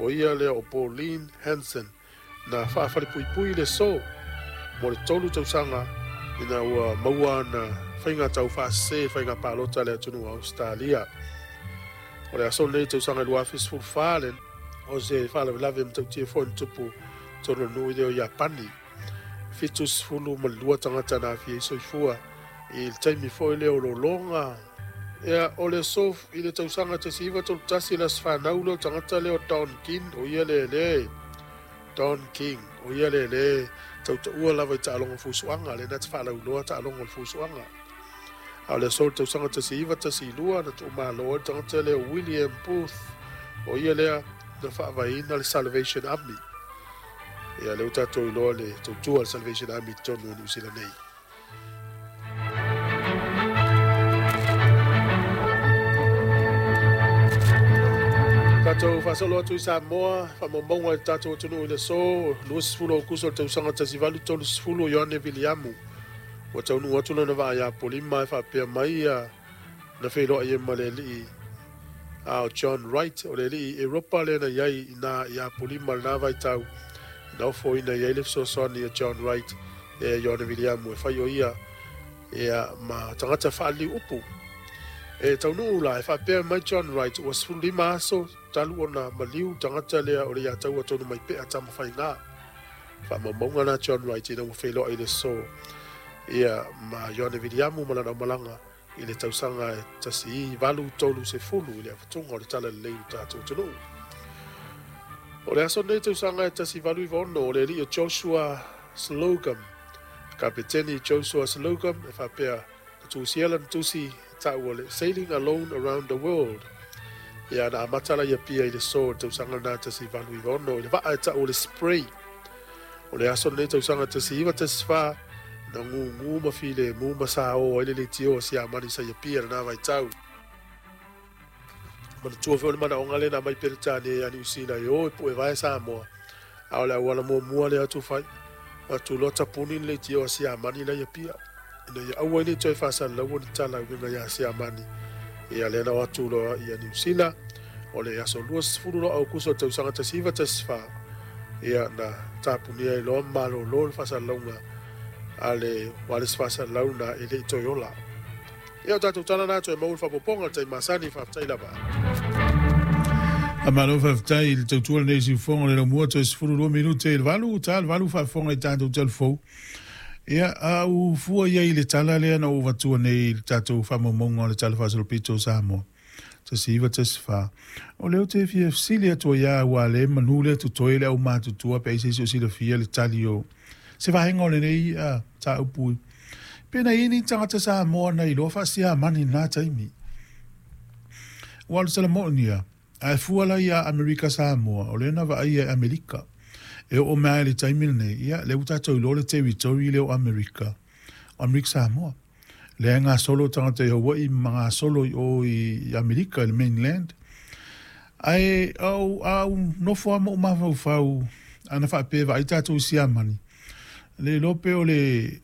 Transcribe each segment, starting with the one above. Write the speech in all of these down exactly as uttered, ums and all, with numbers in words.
O ia lea o Pauline Hanson na faafalepuipui le aso mo le tolu tausaga ina ua maua ana faiga taufaasese faiga palota le atunuu o Ausetalia. O le aso lenei tausaga lua afe sefulu fa le o se faalavelave matautia foi na tupu tonu o le nuu i lea o Iapani. Fitu sefulu ma le lua tagata na aafia ai soifua i le taimi foi lea o lologa. Ia, o le aso i le tausaga tasi iva tolu tasi le aso fanau lea o tagata lea o Don King, o ia le le Don King, o ia le le tautaua lava i taaloga fusuaga, lea na te faalauiloa taaloga o le fusuaga. A o le aso o le tausaga tasi iva tasi lua na tuumalo ai le tagata lea o William Booth, o ia lea na faavaeina le Salvation Army. Ia, lea ua tatou iloa le tautua le Salvation Army i totonu o Niu Sila nei. Tatou faasolo atu i Samoa, faamaumauga i le tatou atunuu i le aso luasefulu o Aokuso o le tausaga tasi valu tolu sefulu, Ioane Viliamu ua taunuu atu lana vaa ia Apolima e faapea mai ia na feiloai ai ma le alii a o John Wright, o le alii Europa lea na i ai ina i Apolima lena vaitau, na ofoina i ai le fesoasoani a John Wright e Ioane Viliamu e fai o ia ia ma tagata faaliliu upu. E taunuu la e faapea mai John Wright ua sefulu lima aso talu ona maliu tagata lea o le ia taua tonu mai pea Tamafaiga. Faamaumauga na John Wright ina ua feiloai le aso ia ma Ioane Viliamu ma lana aumalaga i le tausaga e tasi valu tolu sefulu i le avatuga o le tala lelei o tatou atunuu. O le aso nei tausaga e tasi valu iva ono o le alii o Joshua Slocum, kapeteni Joshua Slocum e faapea na tusia lana tusi taua le Sailing Alone Around the World. Ia na amata la ia pia i le aso o le tausaga na tasi valu iva ono i le vaa e taua le Spray. O le aso nei tausaga tasi iva tasi fa na ngungu ma file mu ma sa o ai le leitio o Siamani sa ia pia lena vaitau. Manatua foi o le manaoga lena mai Peretania ia Niu Sila e o e pue vae Samoa. A o le auala muamua lea atu fai atu loa tapuni le leitio a Siamani la ia pia. Ina ia aua ai le toe faasalalaua ni tala uiga ia Siamani. Ia lea na o atu loa ia Niu Sila o le aso luasefulu loa Aokuso o le tausaga tasi iva tasi fa. Ia na tapunia ai loa malolo le faasalalauga a le wireless faasalalau na e le i toe ola. Ia o tatou tala na toe maua le faaopoopoga le taimi masani, faafetai lava. A malo faafetai i le tautua lenei siufofoga le laumua toe sefulu lua minute i le valu, ta le valu faafofoga i tatou talafou. Ia, a u fua ia i le tala lea na ou avatua nei i le tatou faamaumauga o le Tala Faasolopito o Samoa. Tasi iva tasi fa. O lea ou te fia fesili atu ai lava aua le manu lea totoe le aumatutua pe ai se isi o silafia le tali o se vaega o lenei uh, mataupu. Pe na i ai ni tagata Samoa na iloa faasiamani i lena taimi. Ua o le tala moni ia, ae fua la ia Amerika Samoa, o lea na vaaia e Amerika. E oo mai lava i le taimi lenei, ia, lea ua tatou iloa le territory lea o Amerika, o Amerika Samoa. Lea e gasolo tagata i Hawaii ma gasolo i o i Amerika i le mainland. Ae au, a ou nofo lava ma ou mafaufau ana faapea e vaai tatou i Siamani, le iloa pe o le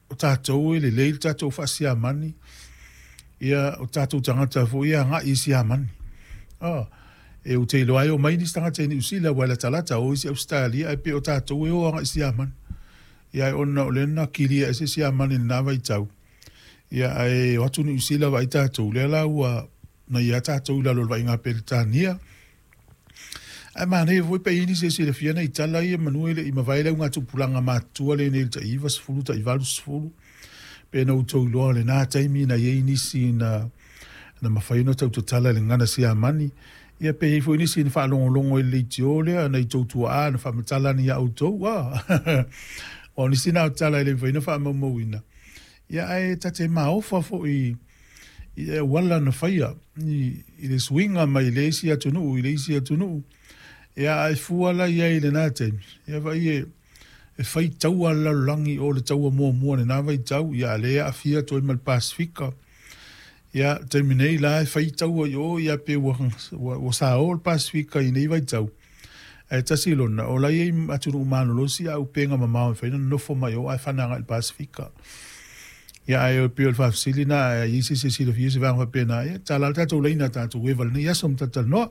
o tatou e lelei le tatou faasiamani, ia o tatou tagata foi e agai i Siamani. Oh, e ou te iloa ai o mai nisi tagata i Niu Sila ua e latalata o isi Ausetalia ae pei o tatou e o agai i Siamani. Ia ae ona o lea na kilia ese Siamani i lena vaitau. Ia ae o atu Niu Sila vaai tatou, lea la ua na ia tatou i lalo o le vaaiga a Peretania. Ae manaia foi pe i ai nisi e silafia nai tala ia manu e le i mavae le augatupulaga matutua lenei i le tai iva sefulu tai valu sefulu pe na outou iloa o lena taimi na i ai nisi na na mafai ona tautatala i le gagana Siamani. Ia pe i ai foi nisi na faalogologo i le leitio lea nai tou tuaa na faamatala ana ia outou. Ah aua o nisi na o tala e le mafai ona faamaumauina. Ia ae ta te maofa foi i auala na faia i, i le suiga mai le isi atunuu i le isi atunuu. Ia ae fua la i ai i lena taimi. Ia vaai e, e fai taua le lalolagi o le taua muamua lena vaitau, ia a lea e aafia atu ai ma le Pasifika. Ia taimi nei la e fai taua i o, ia pe ua, ua, ua sao le Pasifika i nei vaitau. Ae tasi lona, o la e i ai atunuu malolosi a upega mamao e mafai ona nonofo mai o ae fana agai i le Pasifika. Ia ae pei o le faafesili na, ae i ai se isi e silafia se vaega faapena, ia tala le tatou laina tatou eva i lenei aso ma talatalanoa.